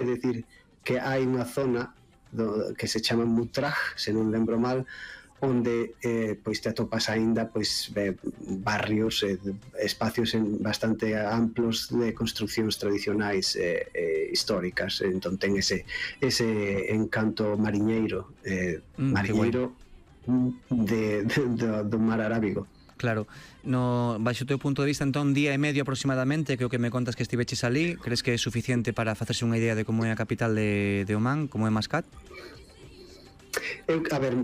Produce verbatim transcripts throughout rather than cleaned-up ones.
é dicir que hai unha zona do, que se chama Mutraj, se non lembro mal, onde eh, pois te atopas aínda pois eh, barrios, eh, espacios en bastante amplos de construcións tradicionais eh, eh, históricas. Entón ten ese, ese encanto mariñeiro, eh, mm, mariñeiro de, de, de, do mar Arábigo. Claro, no, baixo o teu punto de vista, entón, día e medio aproximadamente, que o que me contas que estiveches ali, crees que é suficiente para facerse unha idea de como é a capital de, de Omán, como é Mascat? Eu, a ver,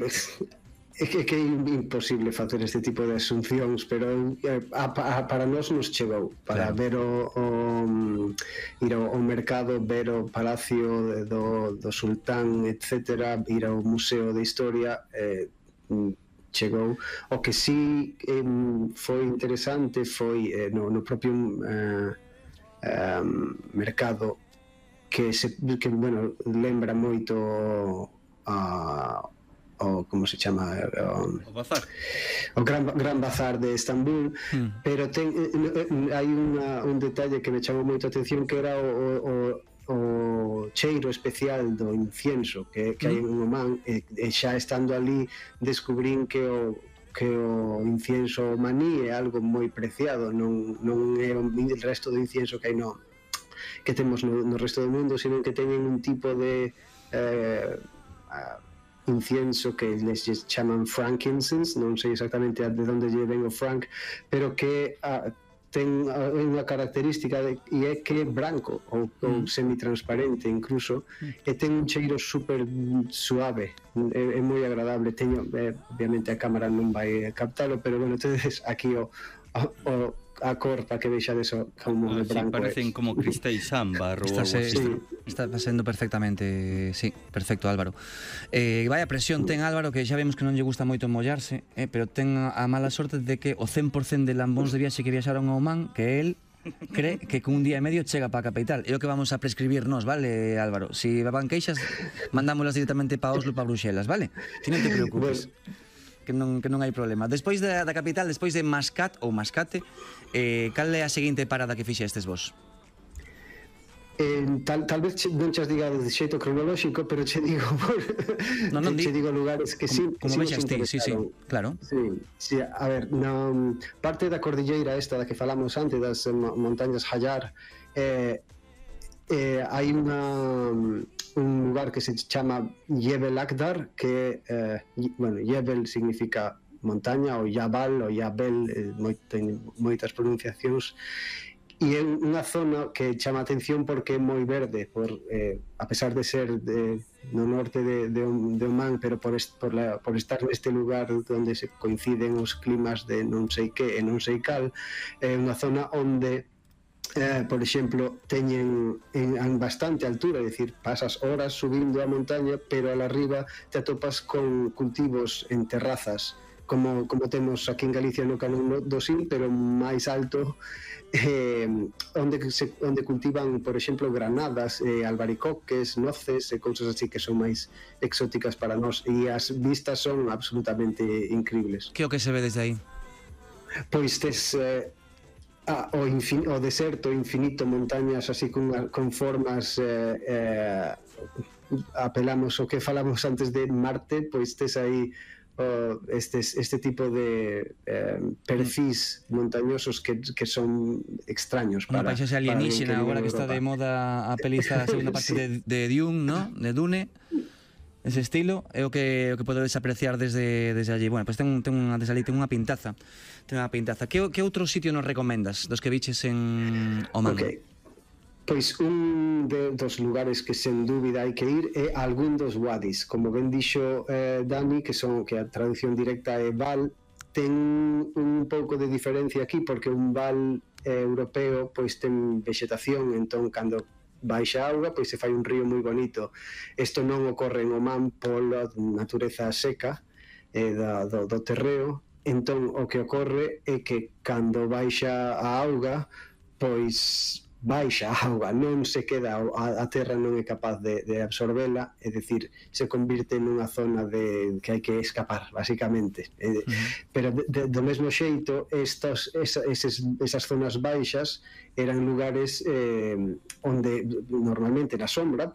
é que, que é imposible facer este tipo de asuncións, pero a, a, para nós nos chegou para claro. ver o, o ir ao, ao mercado, ver o palacio do, do sultán, etcétera, ir ao museo de historia, eh, chegou. O que sí eh, foi interesante foi eh, no, no propio eh, eh, mercado que, se, que bueno, lembra moito a o como se chama o, o bazar o gran, gran bazar de Estambul, mm. pero ten, hai unha, un detalle que me chamou moito a atención, que era o, o, o cheiro especial do incienso que, que mm. hai en Omán, e, e xa estando ali descubrín que o que o incienso omaní é algo moi preciado, non, non é o resto do incienso que hai no que temos no, no resto do mundo, sino que teñen un tipo de eh, a, incienso que les chaman frankincense, non sei exactamente de onde lle ven o frank, pero que a, ten unha característica de, e é que é branco ou, mm. ou semitransparente incluso, mm. e ten un cheiro super suave, é, é moi agradable. Teño, eh, obviamente a cámara non vai captalo, pero bueno, tedes aquí o, o, o a cor para que vexades o como ah, de branco. Sí, parecen como cristais ámbar ou algo así. Sí, está pasando perfectamente, sí, perfecto, Álvaro. Eh, vaya presión ten Álvaro, que xa vemos que non lle gusta moito mollarse, eh, pero ten a mala sorte de que o cen por cento de lambóns de viaxe que viaxaron a Omán, que él cree que con un día e medio chega para a capital. É o que vamos a prescribirnos, vale, Álvaro? Si van queixas, mandámolas directamente para Oslo, para Bruxelas, vale? Ti non te preocupes. Bueno, que non, que non hai problema. Despois da, da capital, despois de Mascat ou Mascate, eh, cal é a seguinte parada que fixestes vos? Eh, tal, tal vez non chas diga de xeito cronolóxico, pero che digo por, no, non che digo lugares que sí, como, como vexas ti, sí, sí, claro. Sí, sí, a ver, na parte da cordilleira esta da que falamos antes, das montañas Hayar, eh, eh, hai unha un lugar que se chama Jebel Akdar, que eh, bueno, Jebel significa montaña, ou Jabal ou Jabel, eh, moito, moitas pronunciacións, e é unha zona que chama a atención porque é moi verde, por, eh, a pesar de ser de, no norte de, de, de Omán, pero por, est, por, la, por estar neste lugar onde se coinciden os climas de non sei que e non sei cal, é unha zona onde Eh, por exemplo, teñen en, en bastante altura, é dicir, pasas horas subindo a montaña, pero al arriba te atopas con cultivos en terrazas, como, como temos aquí en Galicia no Canón do Sil, pero máis alto, eh, onde, se, onde cultivan, por exemplo, granadas, eh, albaricoques, noces e cousas así que son máis exóticas para nós, e as vistas son absolutamente increíbles. Que o que se ve desde aí? Pois tes... Eh, Ah, o, infin, o deserto infinito, montañas así con, con formas eh, eh, apelamos o que falamos antes de Marte, pois tes aí oh, estes, este tipo de eh, perfis montañosos que, que son extraños para, unha paisaxe alienígena agora que está de moda a peliza a segunda parte sí. de, de Dune, ¿no? De Dune, ese estilo é o que, o que podedes apreciar desde, desde allí. Bueno, pois pues ten, ten, unha, desde allí ten unha pintaza. Ten unha pintaza. Que, que outro sitio nos recomendas dos que viches en Omán? Ok, pois un de, dos lugares que sen dúbida hai que ir é algún dos wadis. Como ben dixo eh, Dani, que son que a traducción directa é val, ten un pouco de diferencia aquí, porque un val eh, europeo pois ten vegetación, entón cando baixa auga, pois se fai un río moi bonito. Isto non ocorre en Omán pola natureza seca eh, da, do, do terreo. Entón o que ocorre é que cando baixa a auga, pois baixa a auga, non se queda, a, a terra non é capaz de, de absorbela, é dicir, se convirte nunha zona de que hai que escapar, basicamente. Eh, uh-huh. Pero de, de, do mesmo xeito, estos, esa, eses, esas zonas baixas eran lugares eh, onde normalmente na sombra,